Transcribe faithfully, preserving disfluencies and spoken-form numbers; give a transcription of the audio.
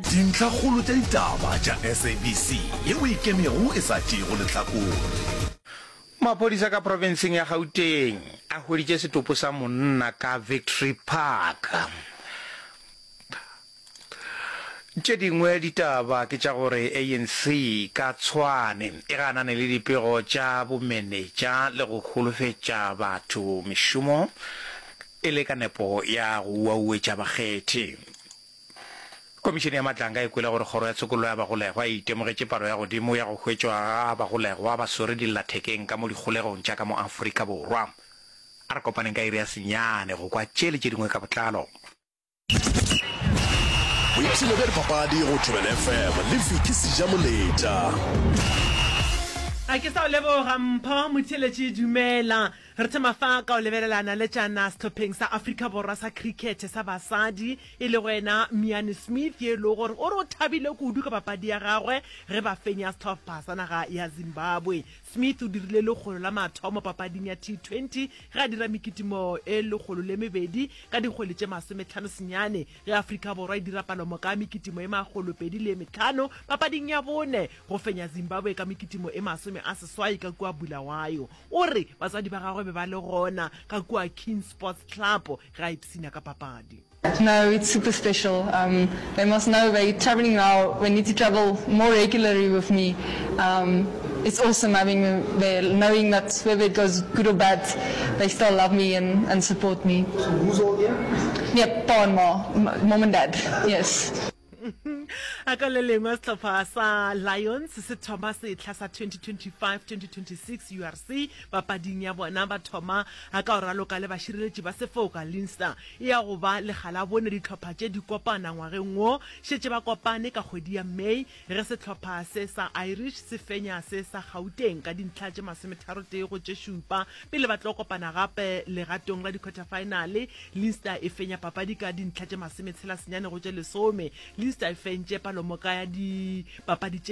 Dintlhakgolo tša ditaba tša S A B C yeo e ikemego e sa tšeego lehlakore. Maphodisa ka profenseng ya Gauteng a hweditše setopo sa monna ka Victory Park. Tše dingwe ditaba ke tša gore A N C ka Tshwane e ganane le dipego tša bomenetša le go holofetša batho mešomo e le ka nepo ya go uauetša bakgethi. Komišene ya Matlanga e kwele gore kgoro ya tshokollo ya bagolegwa e itemogetše palo ya godimo ya go hwetšwa ga bagolegwa ba swere dillathekeng ka mo dikgolegong tša ka mo Afrika Borwa. A re kopaneng ka iri ya senyane go kwa tše le tše dingwe ka botlalo. Boipshino bja dipapadi go Thobela F M le Vicky Sejamoleta. A ke sa o leboga Mpho Motheeletši. Dumela. Re thoma fa ka o lebelelana le tšana sehlopheng sa Afrika Borwa sa cricket sa basadi, e lego yena Miane Smith, ye e lego gore o re o thabile kudu ka papadi ya gagwe ge ba fenya sehlopha sa naga ya Zimbabwe. Smith o dirile lekgolo la mathomo papading ya T twenty ge a dira mekitimo e lekgolo le mebedi ka dikgwele tše masometlhano senyane ge Afrika Borwa e dira palomoka ya mekitimo e makgolo pedi le e metlhano papading ya bone go fenya Zimbabwe ka mekitimo e masome a seswai ka kua Bulawayo. O re batswadi ba gagwe be ba le gona ka kua King Sports Club ge a ipshina ka papadi. No, it's super special. Um, they must know they're traveling now. They need to travel more regularly with me. Um, it's awesome having them there, knowing that whether it goes good or bad, they still love me and, and support me. So who's all here? Yeah, pa and ma, mom and dad, yes. A ka le lengwe, sehlopha sa Lions se thoma sehla sa twenty twenty-five twenty twenty-six U R C papading ya bona ba thoma ka go raloka le bašireletši ba sefoka Leinster. E ya go ba lekga la bone dihlopha tše di kopana ngwageng wo. Šetše ba kopane ka kgwedi ya May ge sehlopha se sa Irish se fenya se sa Gauteng ka dintlha tše masometharotee go tše šupa. Pele ba tlo kopana gape legatong la di-quarterfinale, Leinster e fenya papadi ka dintlha tše masometshela senyane go tše lesome. Leinster e fentše palomoka ya dipapadi tše